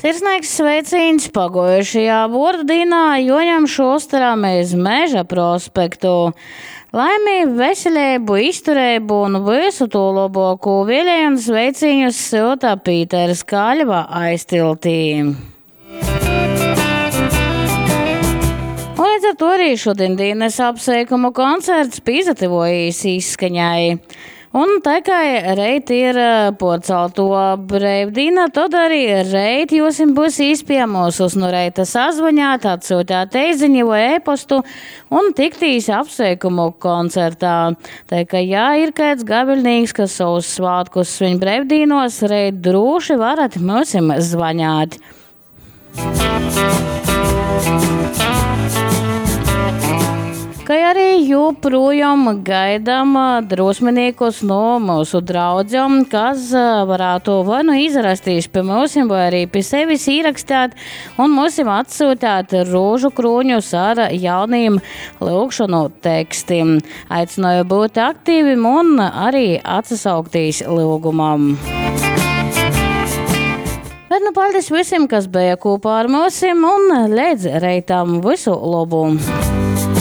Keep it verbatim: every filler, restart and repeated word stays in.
Sirsnīgs sveicīns paguojušajā vuordu dīnā Juoņam Šusteram iz Meža prospektu. Laimi, veseleibu, iztureibu un vysu tū lobuokū vielej un sveicīņus syuta Pīters Kaļva aiztiltī. Un līdz ar to arī šodien dienas apsveikumu koncerts pīsatyvojīs izskaņai. Un tā kā reit ir porcelto breivdīna, tad arī reit jūsim būs īspēja mūsus no reita sazvanāt, atsūtāt eiziņu vai e-postu un tiktīs apsveikumu koncertā. Tā kā, ja ir kāds gaviļnīgs, kas savus svātkus svin breivdīnos, reit drūši varat mūsim zvanāt. Kai arī joprojām gaidām drosminīkus no mūsu draudzēm, kas varētu vai nu izrastīs pie mūsim, vai arī pie sevis īrakstāt un mūsim atsūtāt rožu krūņus ar jauniem lūgšanu tekstiem. Aicināju būt aktīvim un arī atsasauktīs lūgumam. Bet nu paldies visiem, kas bija kopā ar mūsim un līdz reitam visu labu!